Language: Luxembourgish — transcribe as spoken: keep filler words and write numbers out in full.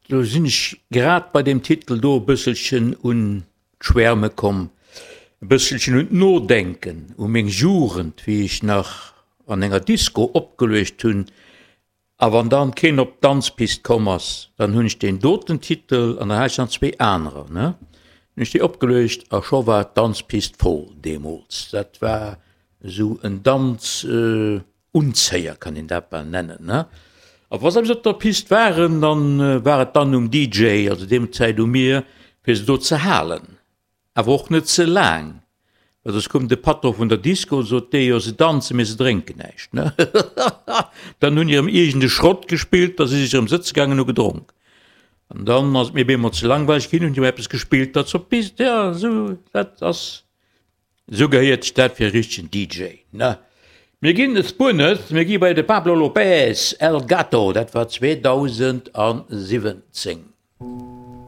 Do sinn ech grad bei deem Titel do e bësselchen un d'Schwärme komm, e bësselchen un d'Nodenken, u meng Jugend, wéi ech nach an enger Disco opgeluecht hunn. A wann dann keen op d'Danzpist komm ass, dann hunn ech deen doten Titel an dann hat ech nach zwee anerer, ne, hunn ech déi opgeluecht a scho war d'Danzpist voll deemools. Dat war esou en Danz Unzéier, kann een dat bal nennen, ne. A wa se eppes op der Pist waren, dann war et dann um D J, also deem Zäit u mir, fir se do ze halen, awer och net ze laang, well soss koum de Patron vun der Disco, sot dee, jo se danzen, mee se drénken näischt, ne. Dann hunn déi erëm iergend e Schrott gespillt, da si sech erëm sëtze gaangen, hu gedronk. An dann ass et mir bemol ze langweileg ginn, hunn déi eppes gespillt, dat se op d'Pist, ja, esou, dat ass, esou gehéiert sech dat fir e richtegen D J, ne. Mir ginn et spuer net, mir gi bei de Pablo Lopez, El Gato, dat war zweedausendsiwwenzéng.